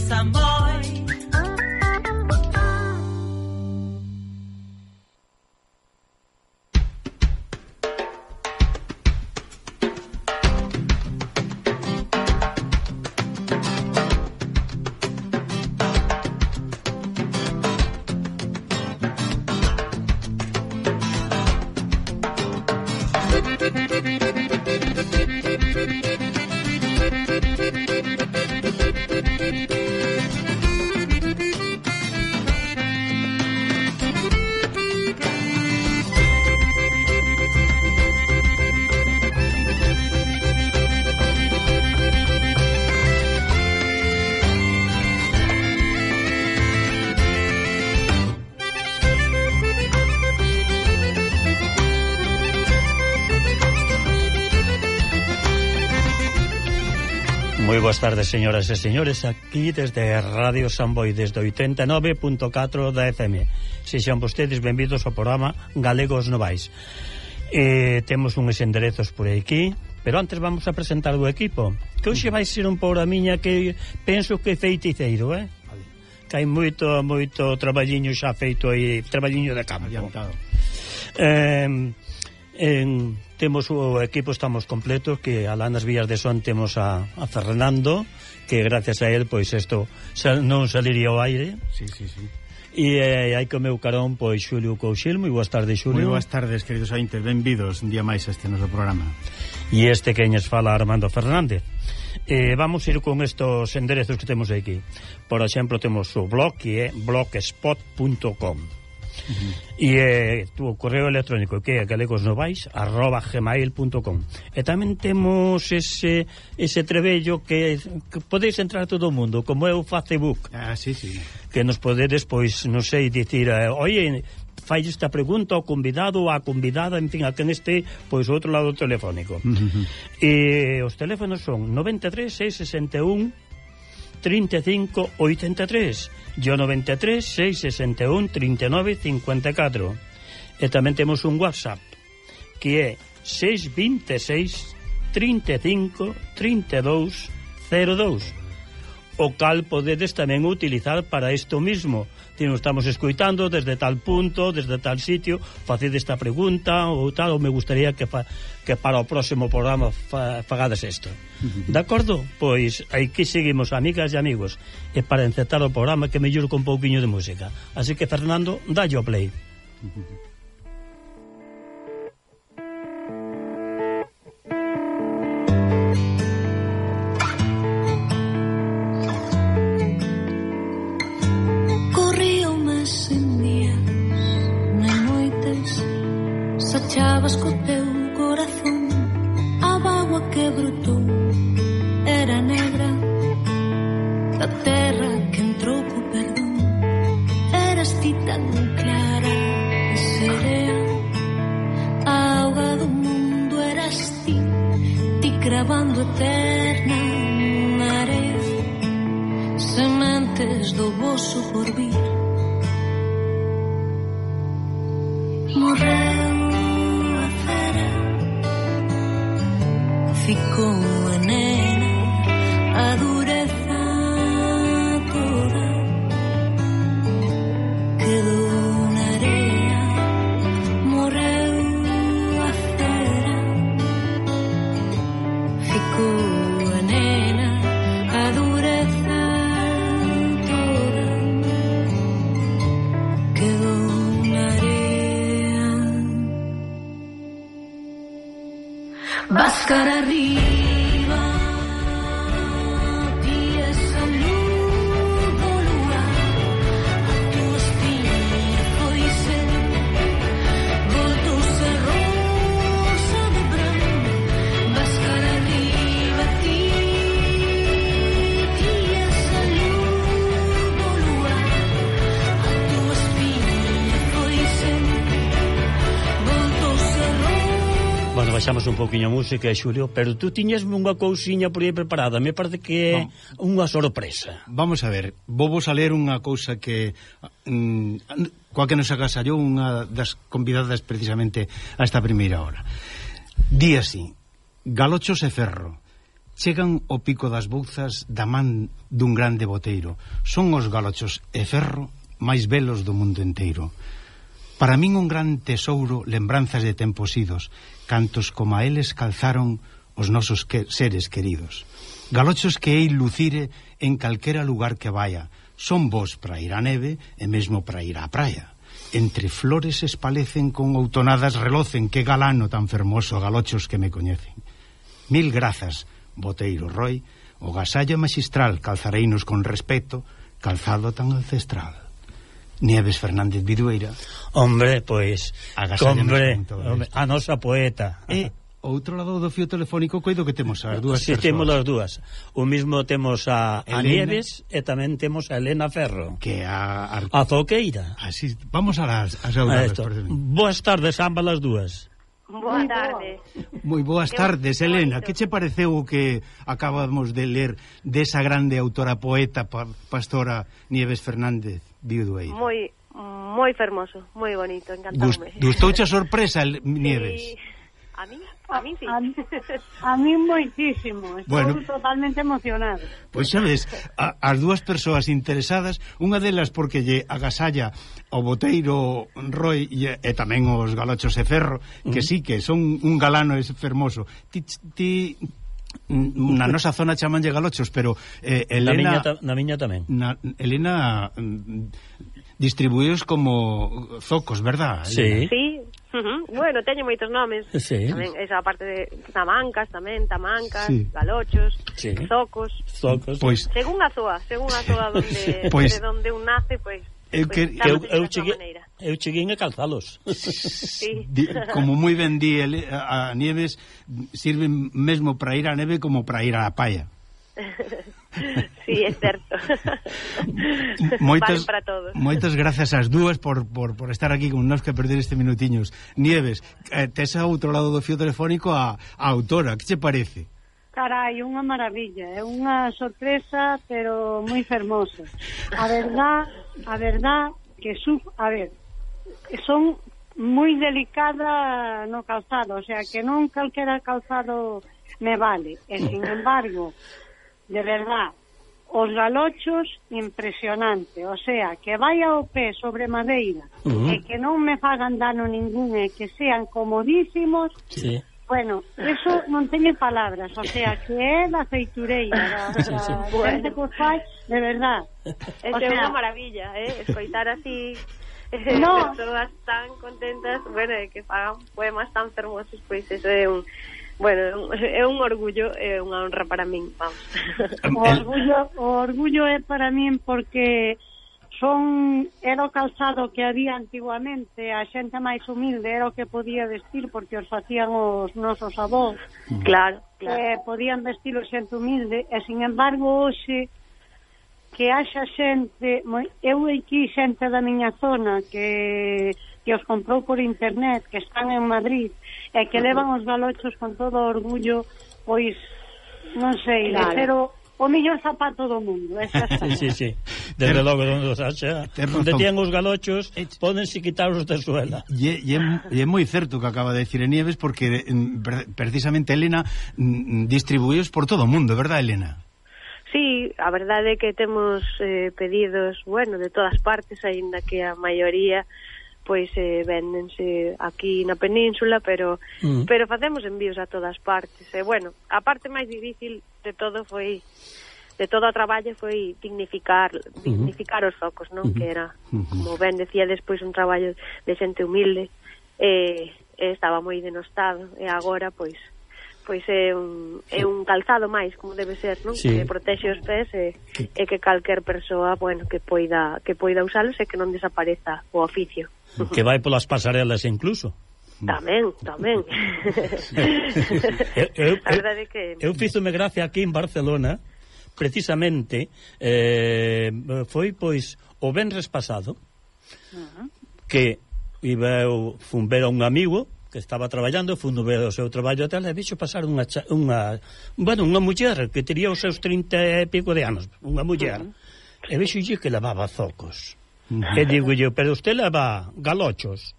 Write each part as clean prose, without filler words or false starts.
Samboy. Moi boas tardes, señoras e señores, aquí desde Radio Samboy, desde 89.4 da FM. Sexan vostedes benvidos ao programa Galegos Novais. Temos uns enderezos por aquí, pero antes vamos a presentar o equipo, que hoxe vai ser un programiña que penso que é feiticeiro, que hai moito traballiño xa feito aí, traballiño de campo. Temos o equipo, estamos completos, que alá nas vías de son temos a Fernando, que gracias a él, pois isto non saliría ao aire. Sí. E hai co meu carón, pois, Xulio Couchil. Moi boas tardes, Xulio. Moi boas tardes, queridos ointes, benvidos un día máis a este noso programa. E este que ñes fala Armando Fernández. Vamos ir con estos enderezos que temos aquí. Por exemplo, temos o blog, que é blogspot.com. E o correo electrónico, que é galegosnovais@gmail.com. E tamén temos ese trebello que podeis entrar todo o mundo, como é o Facebook. Sí. Que nos podedes, pois, non sei, dicir, oye, fai esta pregunta ao convidado ou á convidada, en fin, a quen este, pois, outro lado telefónico. E os teléfonos son 93 661 35 83 e o 93 661 39 54. E tamén temos un WhatsApp, que é 626 35 32 02, o cal podedes tamén utilizar para isto mismo. Nos estamos escoitando desde tal punto, desde tal sitio, faced esta pregunta ou tal, ou me gustaría que para o próximo programa fagades isto. De acordo? Pois aquí seguimos, amigas e amigos, e para encetar o programa que mellor con un pouquiño de música. Así que, Fernando, dalle o play. Chavas co teu corazón, a bagua que brotou era negra, da terra que entrou co perdón. Eras ti tan clara e serea, a auga do mundo eras ti cravando eterna na area, sementes do voso porvir. Morreu, ficou a nena, a dureza toda quedou na areia. Morreu a cera, ficou a nena, a dureza toda quedou na areia. Vas cara arriba, ti esa luz do luar, a tua espinha foi ser, voltou-se rosa de branco. Vas cara arriba, ti esa luz do luar, a tua espinha foi ser, voltou-se rosa. Bueno, baixamos un pouquiño a música, Xulio, pero tú tiñesme unha cousiña por aí preparada. Me parece que é unha sorpresa. Vamos a ver, vos a ler unha cousa que coa que nos agasallou unha das convidadas precisamente a esta primeira hora. Di así: galochos e ferro, chegan ao pico das Bouzas da man dun grande boteiro. Son os galochos e ferro máis belos do mundo inteiro. Para min un gran tesouro, lembranzas de tempos idos, cantos como a eles calzaron os nosos seres queridos. Galochos que hei lucire en calquera lugar que vaya, son vos para ir á neve e mesmo para ir á praia. Entre flores espalecen con outonadas relocen, que galano tan fermoso, galochos que me coñecen. Mil grazas, boteiro Roi, o gasallo magistral calzareinos con respeto, calzado tan ancestral. Nieves Fernández Vidueira. Hombre, pois, hombre, a nosa poeta. E outro lado do fío telefónico coido que temos as dúas persoas. Temos as dúas. O mismo temos a Nieves e tamén temos a Elena Ferro, que a Zoqueira. Así, vamos a las saudades. Boas tardes, ambas as dúas. Boa tarde. Moi boas tardes, Elena. Que che pareceu o que acabamos de ler desa grande autora poeta pastora Nieves Fernández Vidueira? Moi fermoso, moi bonito, encantoume. Gustouche a sorpresa, Nieves? Sí. A mí sí. A mí moitísimo. Estou totalmente emocionado. Pois sabes, as dúas persoas interesadas, unha delas porque lle agasalla o boteiro Roi e tamén os galochos e ferro, que sí, que son un galano fermoso. Ti na nosa zona chamanlle galochos, pero Elena... Na miña tamén. Elena distribuíos como zocos, verdad? Sí. Sí. Bueno, teño moitos nomes. Sí. Tamén esa parte de tamancas, sí. Galochos, sí. Zocos. Pois, según a zoa donde pois, de donde un nace, pois eu cheguei a calzalos. Sí. Como moi ben di a Nieves, sirven mesmo para ir á neve como para ir á praia. Sí, é certo. Moitas, vale para todos. Moitas grazas ás dúas por estar aquí con nós, que perder este minutiños. Nieves, tes a outro lado do fío telefónico a autora, que che parece? Carai, unha maravilla, é unha sorpresa, pero moi fermosa. A verdad que son moi delicada no calzado, o sea, que non calquera calzado me vale. E, sin embargo, de verdad, os galochos impresionante, o sea, que vai ao pé sobre madeira e que non me fagan dano ningún e que sean comodísimos. Sí. Bueno, eso non teño palabras, o sea, que é da feitureira, da xente que os fai, de verdad. É unha maravilla, escoitar así persoas tan contentas, bueno, que fagan poemas tan fermosos, pois eso é un... Bueno, é un orgullo, é unha honra para min, vamos. O orgullo é para min porque era o calzado que había antiguamente, a xente máis humilde era o que podía vestir porque os facían os nosos avós. Claro. Podían vestir o xente humilde e, sin embargo, hoxe que haxa xente, eu aquí xente da miña zona que os comprou por internet, que están en Madrid e que levan os galochos con todo o orgullo, pois non sei, de ser o mellor zapato do mundo. Sí. Desde logo, onde os haxa, onde tian os galochos, pódense quitar os de suela. E é moi certo que acaba de decir Nieves, porque precisamente Elena distribuíos por todo o mundo, verdad, Elena? Sí, a verdade é que temos pedidos, bueno, de todas partes, aínda que a maioría pois véndense aquí na península, pero facemos envíos a todas partes. E bueno, a parte máis difícil de todo o traballo foi dignificar os zocos, non? Que era, como ben decía despois, un traballo de xente humilde, estaba moi denostado, e agora pois é un calzado máis, como debe ser, non? Sí. Que protexe os pés e que calquer persoa, bueno, que poida usalos e que non desapareza o oficio. Que vai polas pasarelas incluso. Tamén. Eu fízome gracia aquí en Barcelona, precisamente, foi pois o venres pasado, que fun ver a un amigo que estaba traballando, fun ver o seu traballo e tal, e vixo pasar unha muller que tería os seus 30 e pico de anos, unha muller, e vixo que levaba zocos. E digo eu, pero usted leva galochos?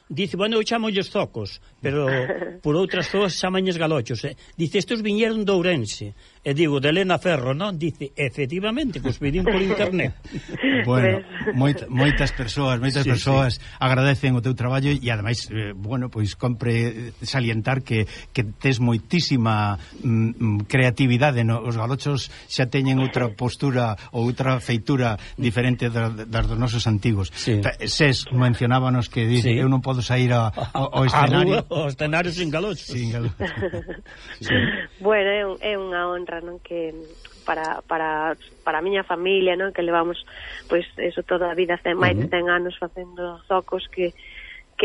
dice, bueno, eu chamollles zocos, pero por outras zoas chamañes galochos. Dice, estos viñeron de Ourense. E digo, de Elena Ferro, non? Dice, efectivamente, que os virín por internet. Bueno, moitas persoas agradecen o teu traballo e ademais, bueno, pois compre salientar que tes moitísima creatividade, no? Os galochos xa teñen outra postura ou outra feitura diferente das dos nosos antigos. Sí. Ses mencionábanos que dice, eu non podo sair ao escenario. Ao escenario sin galochos. Sin galochos. Sí. Bueno, é unha honra, non, que para a miña familia, non, que levamos pois eso toda a vida, máis de 100 anos facendo zocos, que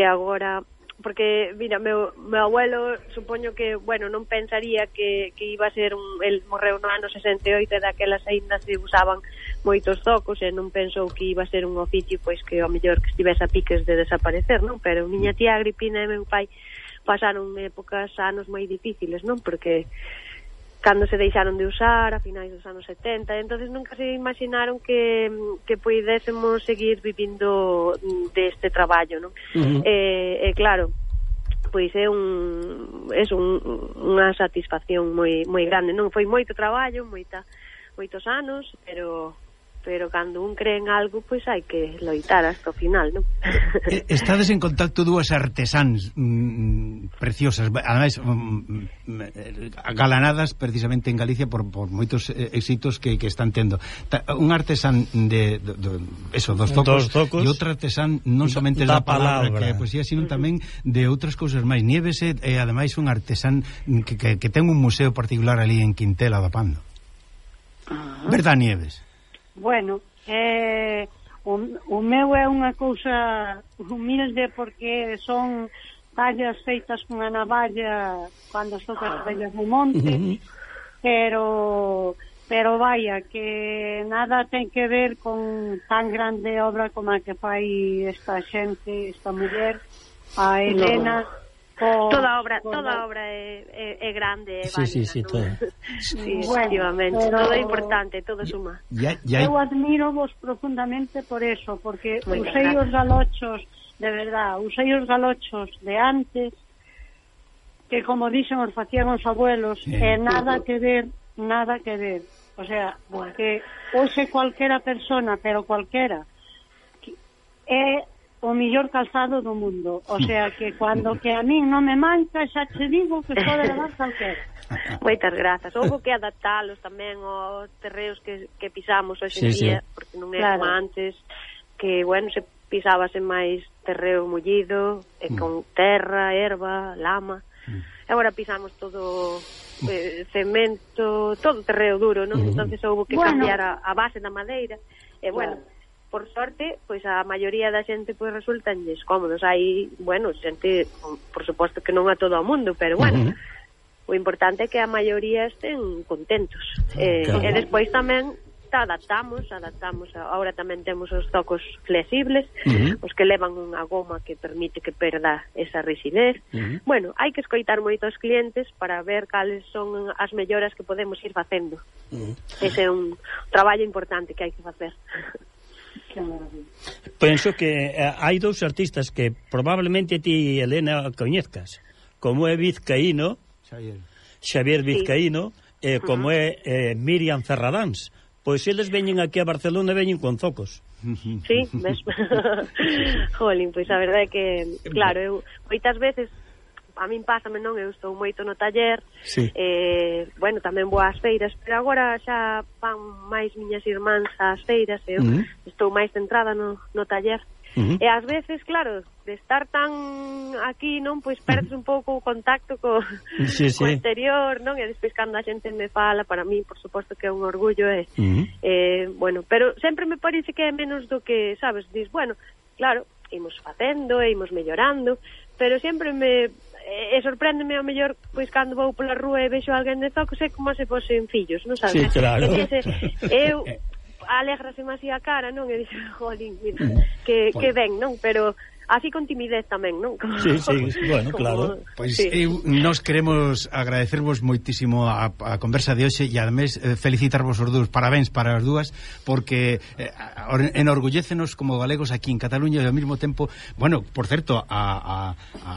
agora, porque mira, meu abuelo supoño que, bueno, non pensaría que iba a ser el morreu no ano 68 e daquelas aínda se usaban moitos zocos e non pensou que iba a ser un oficio pois que ao mellor que estivese a piques de desaparecer, non? Pero miña tía Agripina e meu pai pasaron anos moi difíciles, non? Porque cando se deixaron de usar a finais dos anos 70, entonces nunca se imaginaron que puidésemos seguir vivindo deste traballo, non? Claro, pois é unha satisfacción moi grande, non? Foi moito traballo, moitos anos, pero cando un cree en algo, pois hai que loitar hasta o final, non? Estades en contacto dúas artesáns preciosas, ademais galanadas precisamente en Galicia por moitos éxitos que están tendo. Un artesán dos zocos e outro artesán non somente da palabra que é poesía, sino tamén de outras cousas máis. Nieves é ademais un artesán que ten un museo particular ali en Quintela da Pando. Verdad, Nieves? Bueno, o meu é unha cousa humilde porque son tallas feitas con a navalla cando estou as vellas no monte, pero vaya, que nada ten que ver con tan grande obra como a que fai esta xente, esta muller, a Elena. Toda obra é grande, é válida. Sí, todo. Sí, efectivamente, todo é importante, todo suma. Eu admiro vos profundamente por eso, porque usei os galochos, de verdad, usei os galochos de antes, que como dixen os facían os abuelos, nada que ver. O sea, que hoxe cualquera persona, pero cualquera, é o millor calzado do mundo, o sea que cando que a min non me manca, xa che digo que pode levar calquera. Moitas grazas. Houve que adaptalos tamén aos terreos que pisamos hoxe en día, porque non é como antes, que, bueno, se pisábase máis terreo mullido, con terra, erva, lama. Agora pisamos todo cemento, todo terreo duro, non? Entonces houve que cambiar a base da madeira. E, bueno, por sorte, pois a maioría da xente pois resultanlles cómodos. Hai, bueno, xente, por suposto que non a todo o mundo, pero bueno, o importante é que a maioría estén contentos. E despois tamén adaptamos. Ahora tamén temos os zocos flexibles, os que levan unha goma que permite que perda esa rigidez. Bueno, hai que escoitar moito aos clientes para ver cales son as melloras que podemos ir facendo. Ese é un traballo importante que hai que facer. Penso que hai dous artistas que probablemente ti, Elena, coñezcas, como é Vizcaíno, Xavier Vizcaíno, e como é Miriam Ferradáns. Pois eles veñen aquí a Barcelona e veñen con zocos. Sí, ves? Jolín, pois a verdade é que, claro, eu moitas veces a min pásame, non, eu estou moito no taller, bueno, tamén vou ás feiras, pero agora xa van máis miñas irmáns ás feiras, eu estou máis centrada no taller, e ás veces, claro, de estar tan aquí, non, pois perdes un pouco o contacto co exterior, non, e despois cando a xente me fala, para mí, por suposto que é un orgullo, bueno, pero sempre me parece que é menos do que, sabes, dis, bueno, claro, imos facendo, imos mellorando, pero sempre sorpréndeme ao mellor pois cando vou pola rúa e vexo alguén de zocos, é como se fosen fillos, non sabes? Sí, claro. Eu alégraseme así a cara, non? E dixo, jolín, mira, que ben, non? Pero así con timidez tamén, non? Sí, bueno, claro. Pois sí. Nos queremos agradecervos moitísimo a conversa de hoxe e ademais felicitarvos os dous, parabéns para as dúas, porque enorgullécenos como galegos aquí en Cataluña e ao mesmo tempo, bueno, por certo, a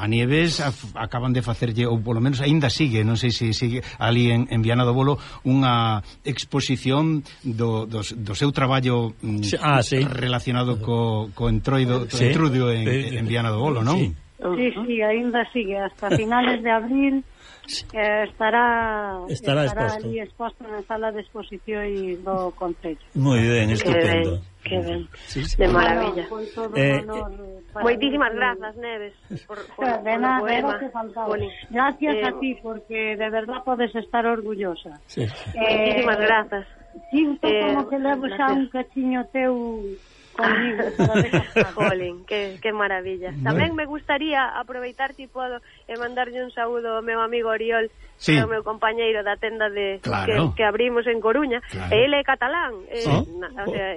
Nieves acaban de facerlle, ou polo menos aínda sigue, non sei se sigue ali en Viana do Bolo, unha exposición do seu traballo relacionado co entroido, entrudio en Viana do Bolo, non? Sí, aínda sigue hasta finales de abril. Estará ali exposto na sala de exposición do Concello. Moi ben, estupendo. Que ben. De maravilla. Moitísimas grazas, Neves, por de nada, poema. Gracias a ti, porque de verdad podes estar orgullosa. Moitísimas grazas. Sinto como que levo xa un cachiño teu conmigo. Jolín, que maravilla. Tamén me gustaría aproveitar, si podo, e mandarlle un saúdo ao meu amigo Oriol, que é o meu compañeiro da tenda que abrimos en Coruña, e ele é catalán, o sea,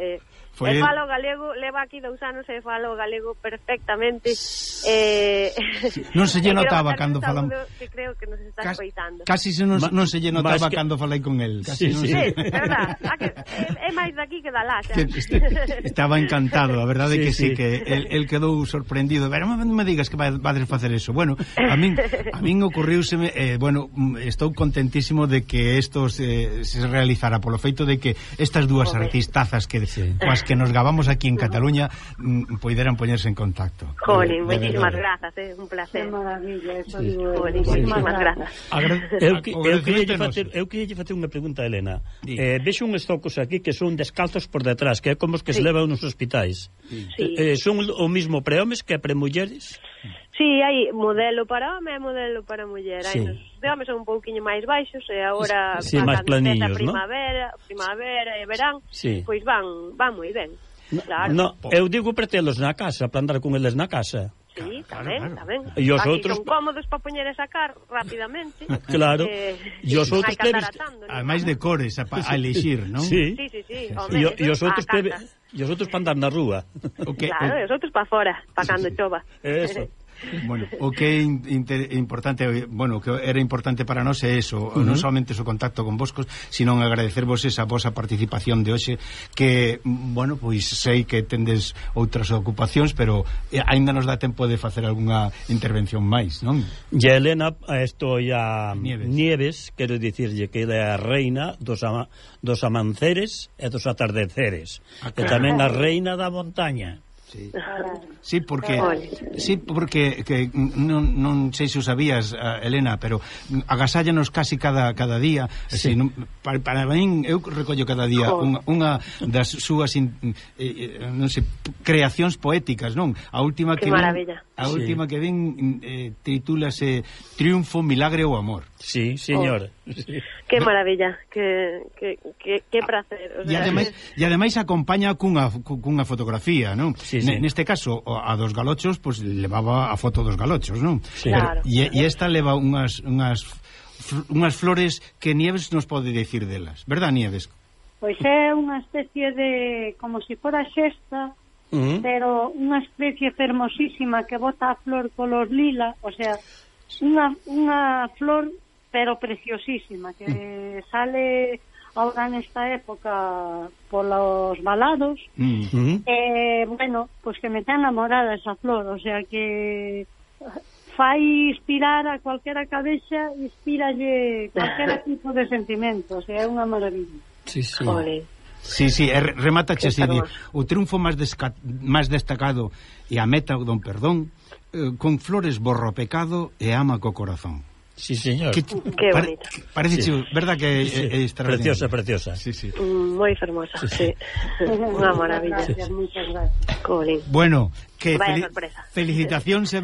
e falo galego, leva aquí 2 anos e falo galego perfectamente. Non se lle notaba cando falamos. Que creo que nos está escoitando. Casi non se lle notaba cando falei con el. Sí, verdad. É máis daqui que da lá. Estaba encantado, a verdade que sí, que el quedou sorprendido. Pero non me digas que vades facer eso. Bueno, a min ocurriuseme, bueno, estou contentísimo de que isto se realizara polo feito de que estas dúas artistazas coas que nos gabamos aquí en Cataluña poideran poñerse en contacto. Jolín, moitísimas grazas, un placer. Que maravilla, eso digo. Moitísimas grazas. Eu queria facer unha pregunta a Elena. Vexo uns tocos aquí que son descalzos por detrás, que é como os que se levan nos hospitais. Son o mismo para homes que para mulleres? Sí, hai modelo para home e modelo para muller. Hai de home son un pouquiño máis baixos e agora máis planiños, primavera e verán, pois van moi ben. Claro. Eu digo para telos na casa, para andar con eles na casa. Sí, tamén. E os outros son cómodos para poñer e sacar rapidamente. Claro. E os outros ademais de cores a elixir, non? Sí. E os outros para andar na rúa. Claro, e os outros para fora, para cando chova. Eso. Bueno, o que é importante, bueno, que era importante para nós é eso, non somente o contacto con voscos, sino agradecervos esa vosa participación de hoxe, que, bueno, pois sei que tendes outras ocupacións, pero aínda nos dá tempo de facer algunha intervención máis, non? E Elena, isto a Nieves, quero dicirlle que é a reina dos amanceres e dos atardeceres, e tamén a reina da montaña. Sí, porque que non sei se o sabías, Elena, pero agasállanos casi cada día. Para min, eu recollo cada día unha das súas non sei, creacións poéticas, non? A última que ven titúlase Triunfo, Milagre ou Amor. Sí, señor. Que maravilla, que placer. E ademais acompaña cunha fotografía, non? Neste caso, a dos galochos, pois levaba a foto dos galochos, non? Claro. E esta leva unhas flores que Nieves nos pode dicir delas, verdad, Nieves? Pois é unha especie de, como se fora xesta, pero unha especie fermosísima que bota a flor color lila, o sea, unha flor pero preciosísima, que sale ahora nesta época polos valados, bueno, pues que me ten enamorada esa flor, o sea que fai inspirar a cualquera cabeza, inspiralle cualquier tipo de sentimento, o sea, é unha maravilla. Remátache así, o triunfo máis destacado e a meta don perdón, con flores borro pecado e ama co corazón. Sí, señor. Que bonito. Parece, verdad que é extraordinario. Preciosa. Sí. Moi fermosa, sí. Unha maravilla. Muchas gracias. Colín. Bueno, que felicitacións e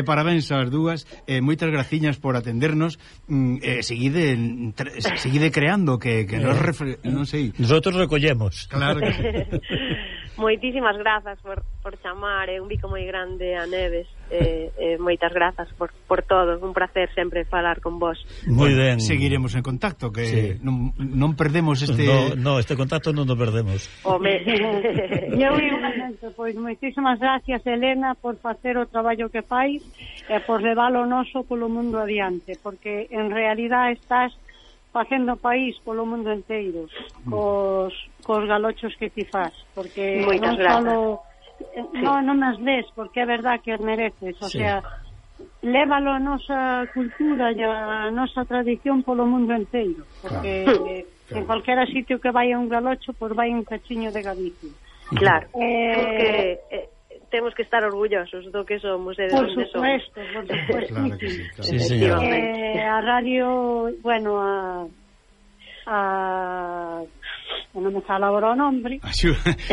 parabéns ás dúas, moitas graciñas por atendernos, seguide creando que non sei. Nosotros recollemos. Claro que Moitísimas grazas por chamar, un bico moi grande a Neves, moitas grazas por todo, un placer sempre falar con vos. Moi ben. Seguiremos en contacto, que sí. non perdemos este... No, este contacto non o perdemos. Eu igualmente, pois moitísimas gracias, Elena, por facer o traballo que fais e por levar o noso polo mundo adiante, porque en realidad estás facendo país polo mundo inteiro cos galochos que ti faz, porque moitas non solo non as ves, porque é verdad que as mereces, o sea, lévalo a nosa cultura e a nosa tradición polo mundo inteiro, porque en calquera sitio que vai a un galocho, pois vai un cachiño de Galicia. Claro, temos que estar orgullosos do que somos e de onde somos. Por supuesto. Claro que sí, claro. Sí, señor. A radio, bueno, non me fala agora o nombre.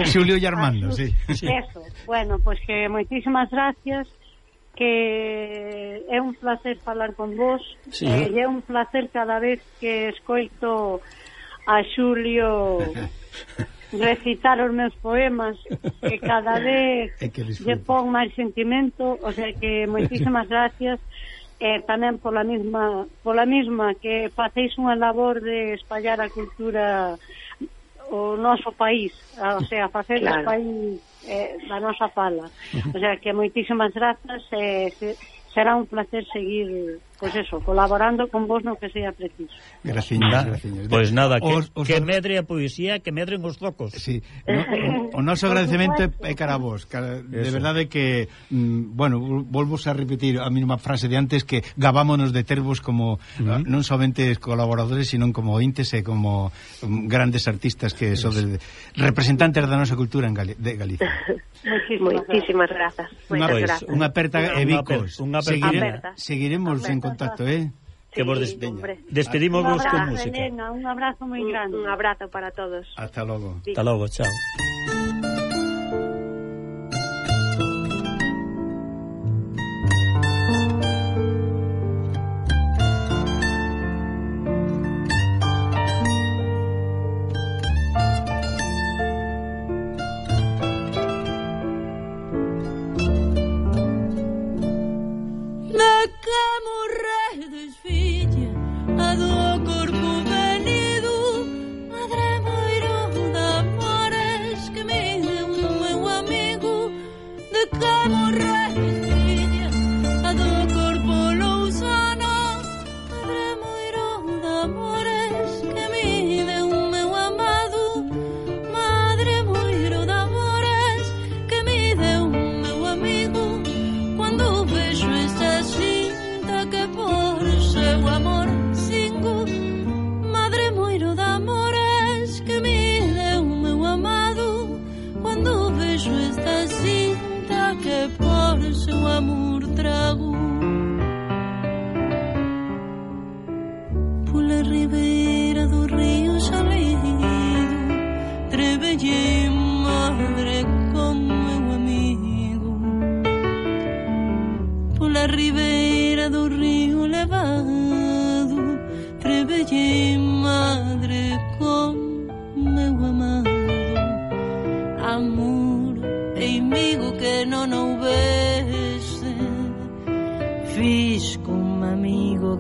Xulio e Armando, sí. Eso, bueno, pois que moitísimas gracias, que é un placer falar con vos, sí. E é un placer cada vez que escoito a Xulio recitar os meus poemas, que cada vez lle pon máis sentimento, o sea que moitísimas gracias, tamén pola mesma que facéis unha labor de espallar a cultura o noso país, o sea, facer o país da nosa fala, o sea que moitísimas grazas, será un placer seguir, pois eso, colaborando con vos no que sea preciso. Graciñas. Pois nada, que medre a poesía, que medren os zocos. Sí, o noso agradecemento é cara a vos, de verdade que, bueno, volvos a repetir a mesma frase de antes, que gabámonos de tervos como non somente colaboradores, sino como ointes e como grandes artistas que son representantes da nosa cultura de Galicia. Moitísimas grazas. Unha aperta e bicos. Seguiremos en contacto, que vos despedimos vos con música. Elena, un abrazo moi grande. Un abrazo para todos. Hasta logo. Hasta logo, chao.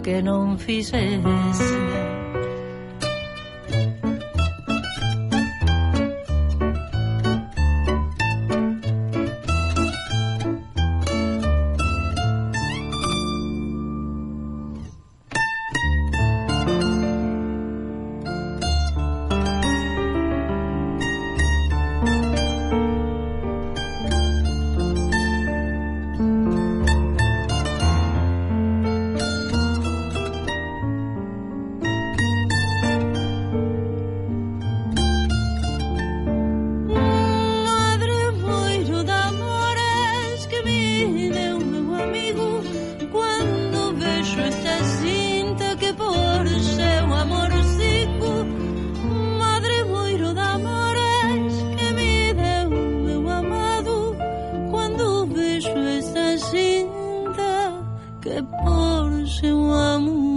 Que non fixese. que por seu amor